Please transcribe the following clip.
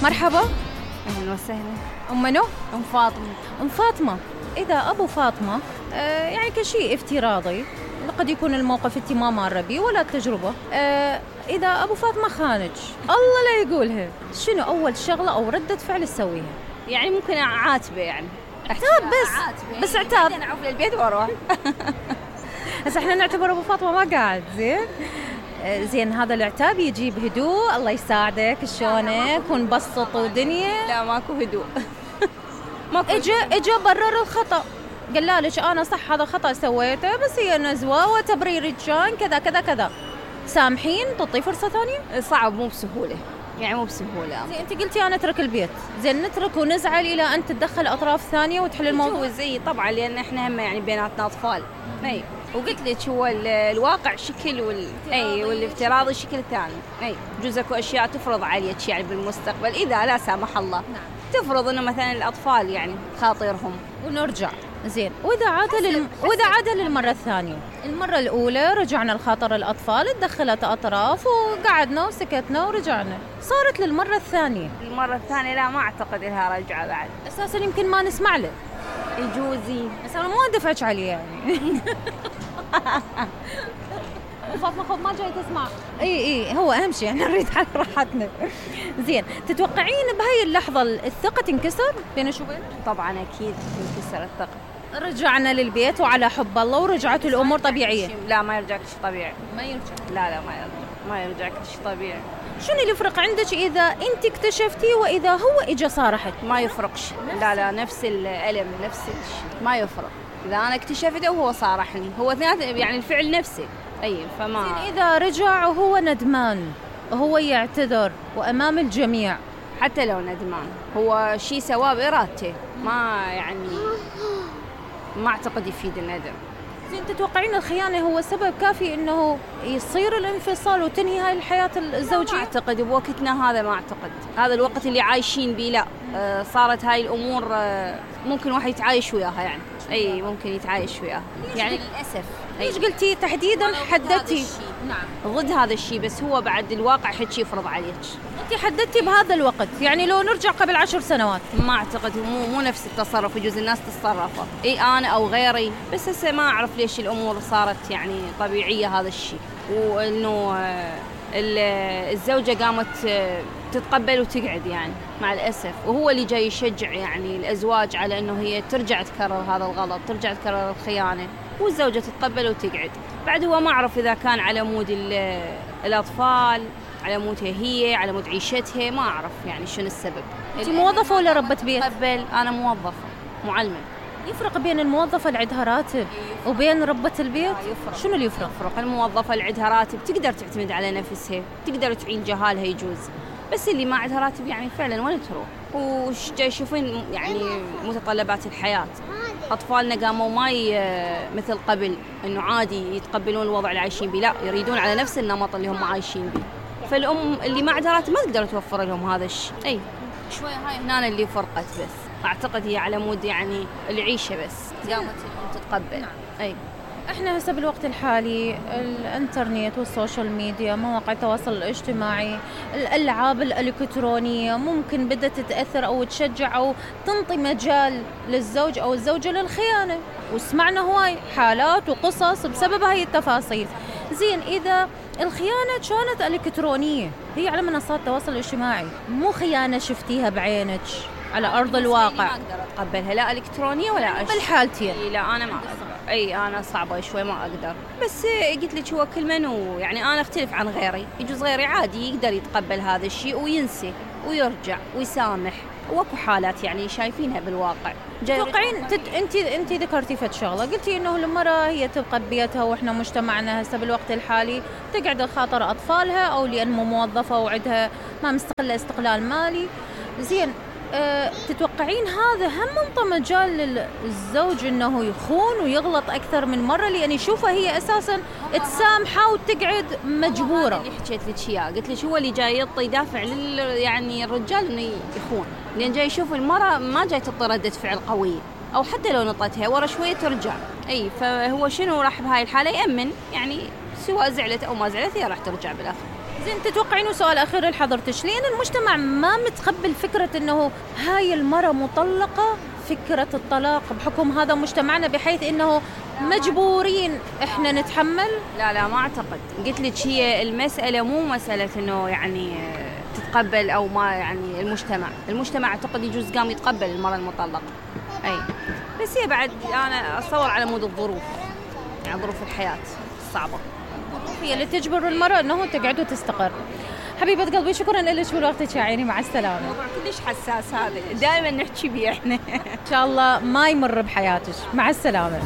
مرحبا. أهلا وسهلا. أم منو؟ أم فاطمة. أم فاطمة، إذا أبو فاطمة يعني كشيء افتراضي قد يكون الموقف أنت ما مارة بيه ولا التجربة، إذا أبو فاطمة خانج الله لا يقولها، شنو أول شغلة أو ردة فعل تسويها؟ يعني ممكن أعاتبه، يعني عتاب بس عتاب. أنا أعوف للبيت وأروح. بس إحنا نعتبر أبو فاطمة ما قاعد زين هذا العتاب يجي بهدوء، الله يساعدك شلونك ونبسط ودنيا. لا ماكو هدوء. اجا برر الخطأ، قال لك أنا صح هذا خطأ سويته بس هي نزوة وتبرير كان كذا كذا كذا، سامحين تعطي فرصة ثانية؟ صعب، مو بسهولة، يعني مو بسهولة. زين أنت قلتي أنا أترك البيت، زين نترك ونزعل إلى أن تتدخل أطراف ثانية وتحل الموضوع؟ زي طبعا لأن إحنا هم يعني بيناتنا أطفال. أي وقلت لك هو الواقع شكل والافتراضي شكل ثاني. أي جزء اكو أشياء تفرض عليك يعني بالمستقبل إذا لا سامح الله. نعم. تفرض إنه مثلا الأطفال يعني خاطرهم ونرجع. زين وإذا عاد للمرة الثانية، المرة الأولى رجعنا لخاطر الأطفال، تدخلت أطراف وقعدنا وسكتنا ورجعنا، صارت للمرة الثانية. المرة الثانية لا ما أعتقد لها رجعة بعد، أساساً يمكن ما نسمع له يجوزي، بس أنا مو أدفعك عليه يعني. فاطمة خذ ما جاي تسمع. اي هو اهم شيء احنا نريد على راحتنا. زين تتوقعين بهاي اللحظة الثقة تنكسر بين شو بين؟ طبعا اكيد تنكسر الثقة. رجعنا للبيت وعلى حب الله ورجعت الامور طبيعية. لا ما يرجع شيء طبيعي. ما يرجع. لا ما يرجع شيء طبيعي. شنو اللي يفرق عندك اذا انت اكتشفتي واذا هو اجى صارحك؟ ما يفرقش. لا نفس الألم نفس الشيء ما يفرق. اذا انا اكتشفته وهو صارحني هو يعني الفعل نفسه. أي فما زين إذا رجع وهو ندمان وهو يعتذر وأمام الجميع، حتى لو ندمان هو شيء سواه بإرادته، ما يعني ما أعتقد يفيد الندم. زين تتوقعين الخيانة هو سبب كافي إنه يصير الانفصال وتنهي هاي الحياة الزوجية؟ ما أعتقد بوقتنا هذا، ما أعتقد هذا الوقت اللي عايشين بيه. لا صارت هاي الأمور ممكن واحد يتعايش وياها يعني. أي ممكن يتعايش وياها يعني للأسف. ليش قلتي تحديدا حددتي؟ نعم ضد هذا الشيء، بس هو بعد الواقع حكي يفرض عليك. انت حددتي بهذا الوقت، يعني لو نرجع قبل 10 سنوات ما اعتقد، مو نفس التصرف، يجوز الناس تتصرفه اي انا او غيري، بس هسه ما اعرف ليش الامور صارت يعني طبيعيه هذا الشيء، وانه الزوجه قامت تتقبل وتقعد يعني مع الاسف، وهو اللي جاي يشجع يعني الازواج على انه هي ترجع تكرر هذا الغلط، ترجع تكرر الخيانه، والزوجه تتقبل وتقعد. بعد هو ما اعرف اذا كان على مود الاطفال، على مودها هي، على مود عيشتها، ما أعرف يعني شنو السبب. أنت موظفة ولا ربة بيت؟ قبل أنا موظفة معلمة. يفرق بين الموظفة اللي عندها راتب وبين ربة البيت؟ يفرق. شنو اللي يفرق؟ الموظفة اللي عندها راتب تقدر تعتمد على نفسها، تقدر تعين جهالها يجوز، بس اللي ما عندها راتب يعني فعلا وين تروح؟ وش جاي يشوفين يعني متطلبات الحياة. أطفالنا قاموا ما مثل قبل إنه عادي يتقبلون الوضع اللي عايشين بيه، لا يريدون على نفس النمط اللي هم عايشين بيه. فالأم اللي ما عندها راتب ما تقدر توفر لهم هذا الشيء. أي شوية هاي هنا اللي فرقت، بس أعتقد هي على مود يعني العيشة بس قامت الأم تتقبل. نعم. أي احنا هسه بالوقت الحالي الانترنت والسوشيال ميديا، مواقع التواصل الاجتماعي، الألعاب الإلكترونية ممكن بدأت تتأثر أو تشجع أو تنطي مجال للزوج أو الزوجة للخيانة، وسمعنا هواي حالات وقصص بسبب هاي التفاصيل. زين إذا الخيانة كانت إلكترونية، هي على منصات التواصل الاجتماعي، مو خيانة شفتيها بعينك على أرض الواقع، ما أقدر أتقبلها لا إلكترونية ولا بالحالتين. لا أنا ما أقدر. أي أنا صعبة شوي ما أقدر، بس قلت لك هو كل من يعني أنا أختلف عن غيري، يجوز غيري عادي يقدر يتقبل هذا الشيء وينسي ويرجع ويسامح، واكو حالات يعني شايفينها بالواقع. توقعين انت ذكرتي فد شغله، قلتي انه المراه هي تبقى ببيتها، واحنا مجتمعنا هسه بالوقت الحالي تقعد خاطر اطفالها او لان موظفه وعندها ما مستقله استقلال مالي. زين تتوقعين هذا هم منطى مجال للزوج انه يخون ويغلط اكثر من مره، لان يشوفها هي اساسا تسامحه وتقعد مجبوره؟ اللي حكيت لك اياه قلت لك هو اللي جاي يدافع يعني الرجال انه يخون، لان جاي يشوف المراه ما جاي تعطي رده فعل قويه، او حتى لو نطتها ورا شويه ترجع. اي فهو شنو راح بهاي الحاله يامن، يعني سواء زعلت او ما زعلت هي راح ترجع بالاخر. زين، تتوقعين سؤال أخير لحضرتك، لأن المجتمع ما متقبل فكرة إنه هاي المرأة مطلقة، فكرة الطلاق بحكم هذا مجتمعنا، بحيث إنه مجبورين إحنا نتحمل؟ لا ما أعتقد. قلت لك هي المسألة مو مسألة إنه يعني تتقبل أو ما، يعني المجتمع أعتقد يجوز قام يتقبل المرأة المطلقة، أي بس هي بعد أنا أتصور على مود الظروف، يعني ظروف الحياة الصعبة هي اللي تجبر المرأة إنه تقعد وتستقر. حبيبة قلبي، شكرا لك ولوقتك يا عيني، مع السلامة. الموضوع كلش حساس هذا، دائما نحكي بيه احنا. إن شاء الله ما يمر بحياتك، مع السلامة.